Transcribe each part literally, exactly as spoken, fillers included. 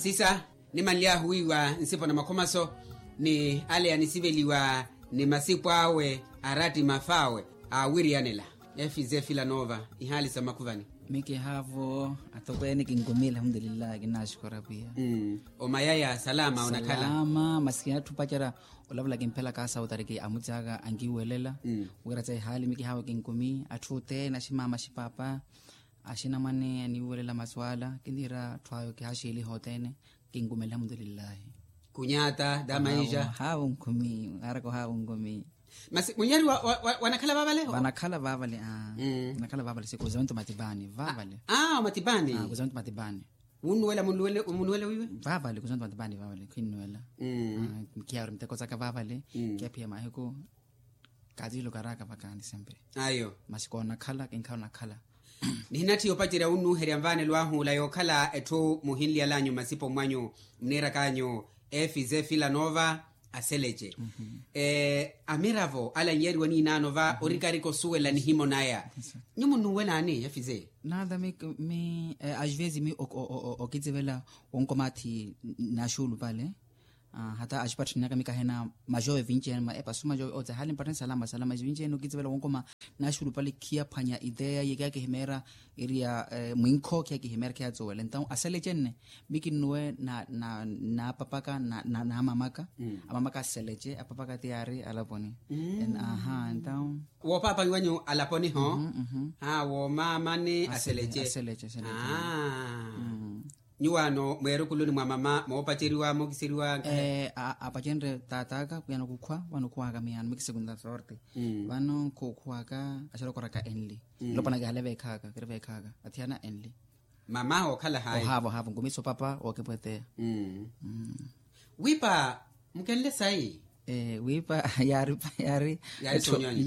Sisa, nimanly'ahu wiiwa nsipo na makhomaso ni ale anisiveliwa ni masipo awe, arattima f'awe aawiriyanela. Efize filanova ihaali sa makhuvani. Mikihaavo atokweene kinkumi alhamdulillahi kinnaxukura pwiya. Omayaya salama onakhala? Salama masi atthu opacerya olavula kimphelaka asautari ki amuti aka ankiwelela. Wira tsa ihaali mikihaavo kinkumi atthu othene aximama axipapa, axinamwane aniwelela masu ala kinniira atthu ayo kihaxiliha othene. Kinkumi alhamdulillahi. Kunyata da maisha. Haavo nkhumi araka ohaavo nkhumi. Masi munyari wanakhala vaavale? Vanakhala vaavale. Vanakhala vaavale si kuzonto matipani vaavale. Kuzonto matipani. Wunnuwela munnuwela wiiwe? Vaavale kuzonto matipani vaavale khinnuwela. Kiyaari miteko saka vaavale. Kiyaphiya mahiku. Kaatiilukaraka vakaani sempre. Ayo. Masi koonakhala kinkhala onakhala. Nihinatthiya opacerya wunnuuherya nvaanelo ahu ola yookhala etthu muhinliyalanyu mmasipo mwanyu, muniirakanyu efize filanova aselece. Amiravo ala nyiyariwa niinaano va orikarika osuwela nihimo naya. Nyu munnuwela ani efize? Naata mi mi asvezi mi okitsivela wonkomathi naxuulu vale. Hata axipatthani aka mikahena majove vinci-ene epasu majove ote hali mpatthani salama salama vinci-ene okitsivela wonkoma. Naxulupali khiyaphwanya ideya iye khiyakihimeera iriya mwinkho khiyakihimeera khiyatsuwela entawu asalece nne. Mikinnuwe naapapaka naamamaka. Amamaka asalece apapaka ti yaari alaponi. Aha entawu. Woopapanyi wanyu alaponi ho? Ha woomamani asalece. Nyuwaano mweerukuluni mwa mama moopaceriwa mookiseriwa? Apacenre taat'aka wiyana okukhwa vano okhuwaka miyano mikisekunta sorte. Vano nkhuwaka axarokoraka enli. Nlopwana kihale veekhaka kiri veekhaka athiyana enli. Mama ookhala hayi? Ohaavo ohaavo nkumiso papa wookipweteya. Wiipa mukenle sayi. Wiipa yaari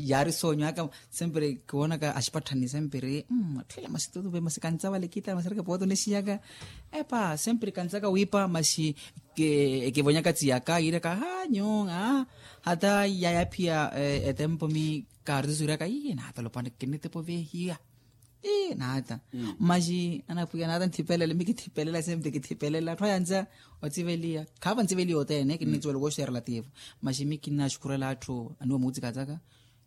yaari soonyo aka. Sempre kiwoonaka axipatthani sempre atthu ela masi tutupe masi kantsa vale kittala masi areke pooti onexiyaka. Epa sempre kantsaka wiipa masi ekivonyaka tsiyaka yiiraka ha nyu. Hata yaya phiya etempo mi kaaritusuwiraka iye naata lopwana kinnitepo veehiya. Naata masi anapwiya naata nthipelela mikithipelela sempre kithipelela atthu ayantsa. Otsiveliya khaava ntsiveliya othene kinnitsuwela wooxeera lativo. Masi mikinnaxukurela atthu aniwo muutsikataka.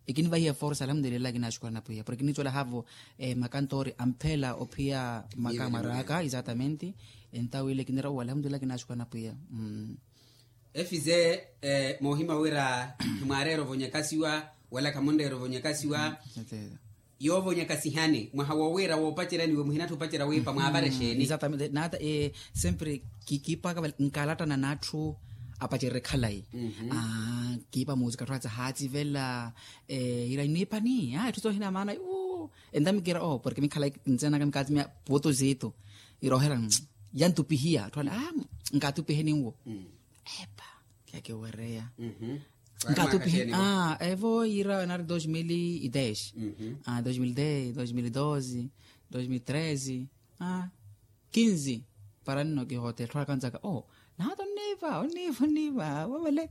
Ekinvahiya forsa alhamdulillahi kinnaxukurela napwiya porke kinnitsuwela haavo makantori ampheela ophiya maka mwaraka exatamente. Entawu ile kinira owo alhamdulillahi kinnaxukurela napwiya. Efize moohima wira khimwaareera ovonyakasiwa wala khamunreera ovonyakasiwa. Yoovonyakasihani mwaha wowiira woopaceryaniwe muhinattha opacerya wiipa mwaavara exeeni? Naata sempre kiipaka vale nkalattana n'atthu apacererye khalayi. Kiipa muusika atthu atsa haatsivela. Ira niipani etthu soohina maana. Entamu mikiira porke mikhalayi ntseenaka mikaatimya puutu ziitu. Iroohela yantupihiya atthu ale. Nkaatupiheni nwo. Epa kiyakiwereya. Nkatupihe evo yiira nari dos mil e dez. Dos mil dez dos mil doze dos mil treze. Kinzi para nno kihote etthu akanzaka o naata onniiva onniiva onniiva wavale.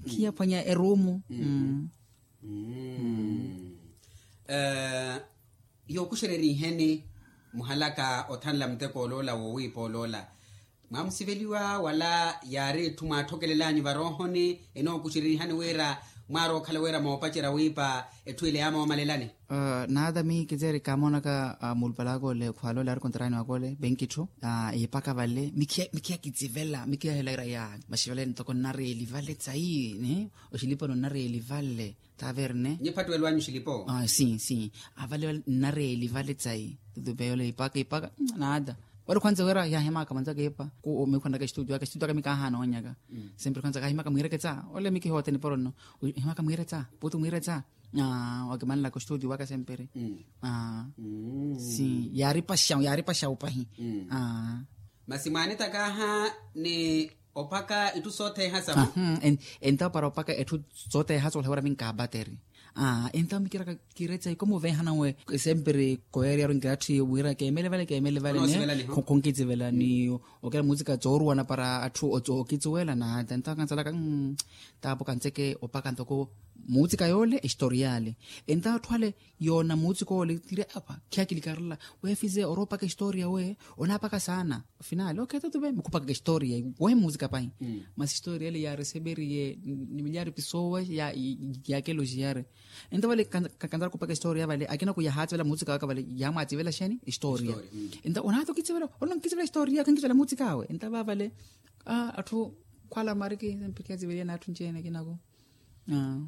Khiyaphwanya eruumu. Yookuxereriheni muhalaka othanla muteko oloola woowiipa oloola. Mwaamusiveliwa wala yaari etthu mwaatthokelel'anyu varoohoni enookuxererihani wira mwaari okhala wira moopacerya wiipa etthu ile yaamoomalelani? Naata mi kiteeri kaamoonaka mulupalaka ole khwala ole ari kontarani waka ole venkitthu. Iipaka vale mikhiya kitsivela mikhiya hela ira ya maxivale ntoko nnareeli vale tsayi. Oxiliponi onnareeli vale. Taverne. Nyi phattuwelo anyu xilipo? Sim sim. Avale nnareeli vale tsayi tutupe yole ipaka ipaka. Naata ole khwanza wira yahimaka manzaka ipa ku mikhwanaka estudio aka estudio aka mikahana onyaka. Sempre khwanza kahimaka mwireke tsa ole mikihote niporo nno. Himaka mwire tsa putu mwire tsa. Wakimanlaka ostudio waka sempre. Sim yaaripa xau yaaripa xau pahi. Masi mwaanitakaha ni opaka itthu sootheha sahu? Entawo para opaka etthu sootheha soolhawira minkaabateri. Aa entawo mikiraka kiretsa ikomo vehana we. Esempiri koyariyaru nkirathi wira kemele vale kemele vale ne. Khonkitsivelani okela mutsika tsoruwana para atthu okitsiwela nata entawo kantsalaka. Tapo kantseke opaka ntoko mutsika yole estoriale. Entawo atthu ale yona mutsika ole tiri apa khiyakilikarela wefize oroopaka estoria we onapaka sana. Ofinale okheto tuve mukhupakaka estoria we mutsika pahi. Masi estoria ele yareseveriye ni milyari pisowa ya yakeloji yare. Enta vale kanzara khupaka estoria vale akina kuyahatsivela mutsika waka vale yamwatsivela sheni estoria. Enta onata okitsivela olonkitsivela estoria khankitsivela mutsika awe enta vavale. Atthu khwala mariki mpikha tsiveliye na atthu ncene kinaku.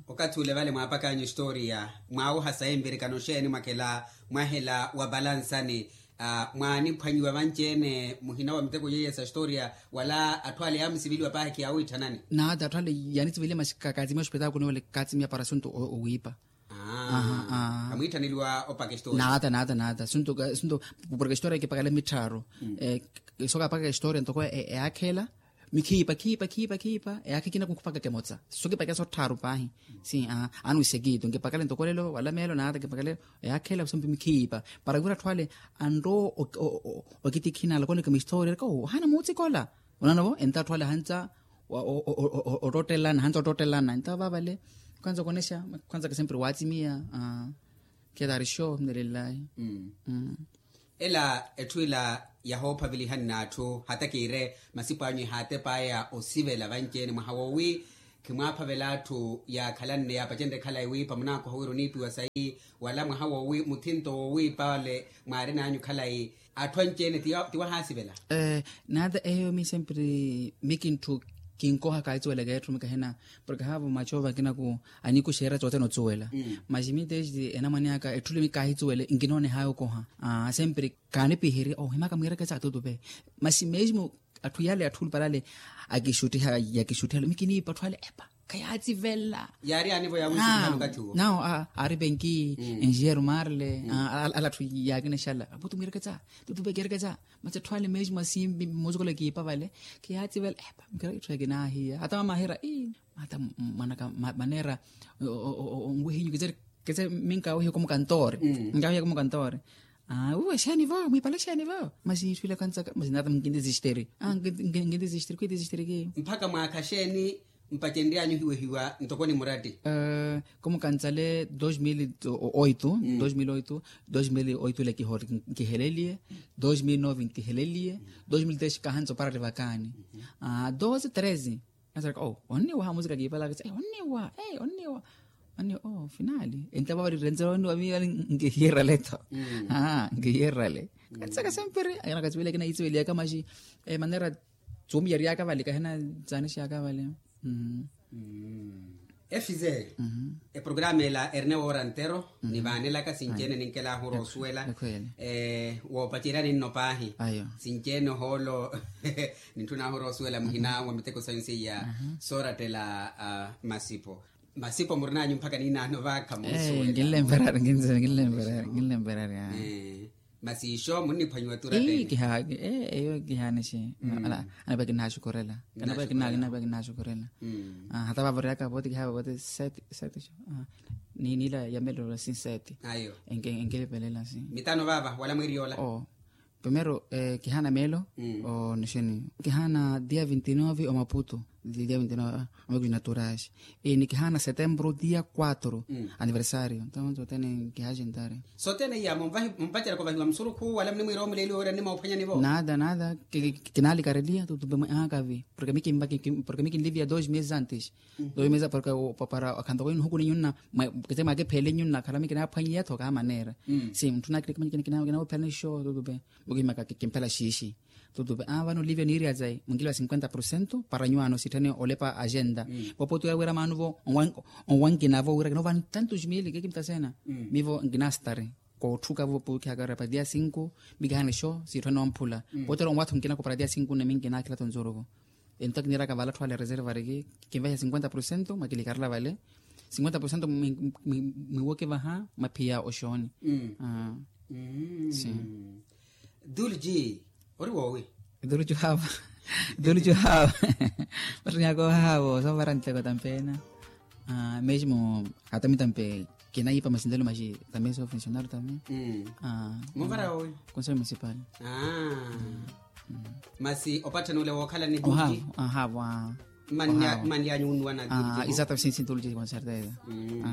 Okathi ule vale mwaapakanyu estoria mwawuha sayi mvirikano xeeni mwakhela mwahela wa valansani? Mwaaniphwanyiwa vanci-ene muhina wa miteko yeiya sa estoria wala atthu ale yaamusiveliwa paahi khiyawitthanani? Naata atthu ale yaanitsiveliwa masi katsimiya ospitaakuni wale katsimiya para asuntu owiipa. Kamwiitthaneliwa opaka estoria? Naata naata naata asuntu asuntu porke estoria kipakale mitthaaru. Sooka apakaka estoria ntoko eyaakhela mikhiipa khiipa khiipa khiipa eyaakha ekina kukhupakaka emotsa. Sookipakeya sotthaaru paahi si. Anuwisekiitu nkipakale ntoko lelo wala meelo naata kipakale eyaakhela kusompi mikhiipa para wira atthu ale anroo. Okitikhinala kooneka mistoori erika ohaana muutsikola. Onanovo enta atthu ale ahantsa ottoottelana ahantsa ottoottelana enta vavale. Khwanza okonexa khwanza ka sempre waatsimiya. Khetari xo mnelelayi. Ela etthu ela yahoophavelihani n'atthu hata kiire masipo anyu ehaatepaya osivela vanci-ene mwaha woowi khimwaaphavela atthu yaakhalanne yaapacenrye khalayi wiipa munaakoha wira oniipiwa sayi wala mwaha woowi muthinto woowiipa ole mwaarin'anyu khalayi atthu anci-ene ti wahaasivela? Naata eyo mi sempre mi kintthu kinkoha kaahitsuwelaka etthu mi kahina porke haavo macho vakinaku anikuxeera tsothene otsuwela. Masi mi testi enamwane aka etthu le mi kaahitsuwele nkinoonehaya okoha. Sempre kaanipihiri ohimaka mwiireke tsa tutupe masi mesmo atthu yale atthu olupale ale akixuttiha yakixuttiha mi kiniipa atthu ale epa khayaatsivela. Yaari anivo yaawiixuttiha okathi uwo? Nao aari penki enjeeru marle ala atthu yaakinexala aputu mwiireke tsa tutupe kiireke tsa. Masi atthu ale mesmo asimbi musukulo ekiipa vale khiyaatsivela epa mukira itthu ekinaahiya hata mama ahira ii hata mwanaka maneera onwihinyu ketse ketse minkawihe komukantoori. Minkawihe komukantoori. Uwe xeeni vo mwiipale xeeni vo masi itthu ila kantsaka masi nata nkintisisteri. Nkintisisteri khwiitisisteri kiyo. Mpakha mwaakha xeeni mpacenryanyu ohiwehiwa ntoko ni muratti? Komukantsale dos mil oito dos mil oito dos mil oito ile kiheleliye. Dos mil nove nkiheleliye. Dos mil dez kahantso para rivakaani. Dos treze. Nasaraka o onniwa hamusika kiipalaka tsa onniwa onniwa. Onniwa o finali entapo vari renzela onniwa miyo ali nkihiyerale tho. Nkihiyerale. Katsaka sempre anakatsiweliyaka naitsiveliaka maxi manera tsumiyaryaka vali kahina tsaanixaka vali. Efize eprograma ela eri ne woora ntero nivaanelaka sinci-ene ninkelaahu oroosuwela. Woopaceryani nno paahi sinci-ene ohoolo nintthunaahu oroosuwela muhina wa miteko sayu seiya soorattela masipo. Masipo murin'anyu mpakha niinaano vaakha moosuwela. Nkinlemperari nkinlemperari nkinlemperari. Masi ixo munniphwanyiwa turatteni? Eyo kihaanixi. Anapaki nnaxukhurela kanapaki nnaxukhurela. Hata vaavoryaka vooti kihaava vooti sete sete xo. Niila yamelelo si sete. Enkelipelela si mitano vaava wala mwiiri yoola? Primero kihaana meelo. Onixini kihaana dia vinti nove omaputo. Dia vinti nove omaputo naturais. Ni kihaana setembro dia quatro aniversario ntawo sotene. Kihaxentari sotene iya mumpaceraka ovahiwa musurukhu wala munimwiira omuleeliwa wira nnimoophwanyani vo? Nada nada. Kinalikareliya tutupe mwe aakavi porke mikinliviya dos meses antes. Dos meses porke para akhantoko inuhuku ni nyunna ketse mwakipheele nyunna khala mikinaaphwanyiya tho kaha maneera. Si mutthu nakilika manyikina kinawopherani xo tutupe. Mukihimaka kimphela xiixi tutupe aa vano olivia niirya tsayi munkiliva cinquenta porcento para nyuwaano sitthene olepa agenda. Voopotweya wira maanuvo onwankinavo wira kinovani tantos mili kekimtasena. Mivo nkinastari kootthuka voopotweyaka wira para dia cinco. Mikihana exo siitthwene omphula. Pootwela onwatho nkinako para dia cinco nne minkinakhila tonzorovo. Ento akiniiraka vale atthu ale reserva ariki kinvahiha cinquenta porcento mwakilikarela vale. Cinquenta porcento mwiwoke vaha maphiya oxooni. Si dulji ori woowi? Dulji haava. Dulji haava. Matthanyaka ohaavo soovara nteko tampeena. Mesmo hata mi tampe Enahipa masintelo maxi tambien sou funcionario tambien. Muvara wowi? Conseil municipal. Masi opatthani ole wookhala ni buti? Ohaavo. Manlyanyu unnuwana? Exato. Sinsinto oluce con certeza.